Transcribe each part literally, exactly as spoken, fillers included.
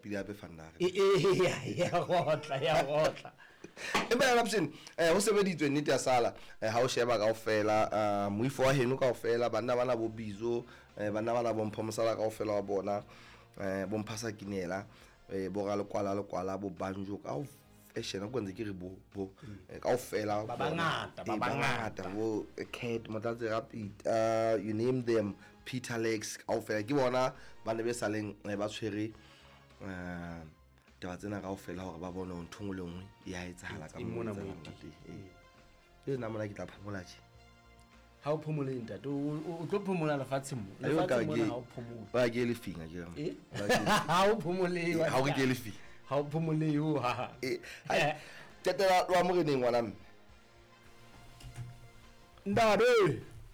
Pele hape fandare. E e ya ya gotla ya gotla. Empa ya Lapshin, eh ho sebeditswe nnete ya sala, eh ha o sheba kaofela, eh moifo wa heno kaofela, banna bana bo Bizo, eh banna bana bo Mpho Mosala kaofela wa bona, eh bo Mphasa Kinela, eh bo Ralekwala Lekwala, bo Banjo ka fashion ko ntse ke re bo bo kaofela ba bangata ba Eh, bangata. bo Cat Motlatse Rapid, uh, you name them, Peter Lex kaofela ke bona ba ne be saleng eh, ba tshwere eh taba tsena kaofela hore ba bone hore ntho e nngwe le nngwe e a etsahala ka E moo mona e etsahalang moo ka teng. Ee. Le nna mona ke tla phomola tje. Ha o phomole ntate, o o- o tlo phomola lefatsheng mo. Ayo ka Lefatsheng mona ke- ha o phomole. Ba ke le finga ke re. Eh? Ba ke- Ha o phomole. Ha o re ke le finga. Ha o phomole ho ha. Eh, hai, qetela wa moreneng ngwana mme. Ntate,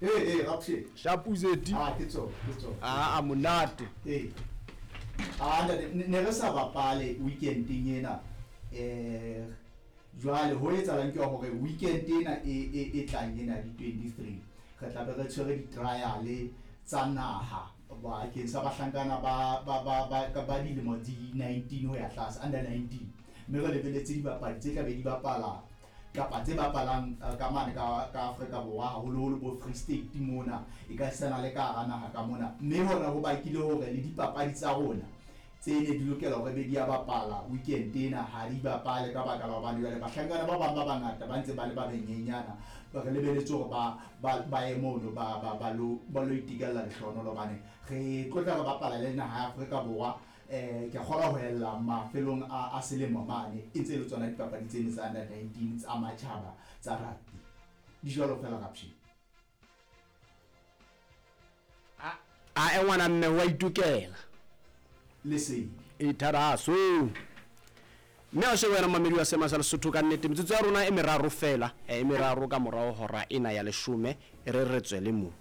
Eh eh Rapshe. Shapuzeti. Ah ke tsona, ke tsona. Ah, a monate. Eh. Ah ntate ne ne re sa bapale weekendeng ena. Eh jwale ho etsahalang ke hore weekend ena e e e tlang ena di twenty-three re tla be re tshwere di-trial tsa naha bakeng sa bahlankana ba ba ba ba ka ba dilemo di nineteen ho ya tlase, under nineteen, mme re lebeletse dibapadi tse tla be di bapala kapa tse bapalang eh, ka mane ka ka Afrika Borwa, haholoholo bo Free State mona, e ka sena le ka hara naha ka mona. Mme hona ho bakile hore le dipapadi tsa rona tse ne di lokela hore be di a bapala weekend ena ha di bapale ka baka la hobane jwale bahlankana ba bang ba bangata ba ntse ba le ba benyenyana, ba re lebeletse hore ba ba ba ye mono ba ba ba lo ba lo itekella lehlohonolo hobane re tlo tla re bapala le naha ya Afrika Borwa. Eh ke kgolwa ho ella mafelong a a selemo mane e ntse e le tsona dipapadi tsene tsa under nineteen tsa matjhaba tsa rugby. Di jwalo fela Rapshe. A e ngwana mme wa itukela. Lesedi. E tharaso. Mme a shebe wena mamedi wa Sema sa Lesotho ka nnete metsotso ya rona e meraro fela, eh, e meraro ka morao hora ena ya leshome, e re re tswele mo.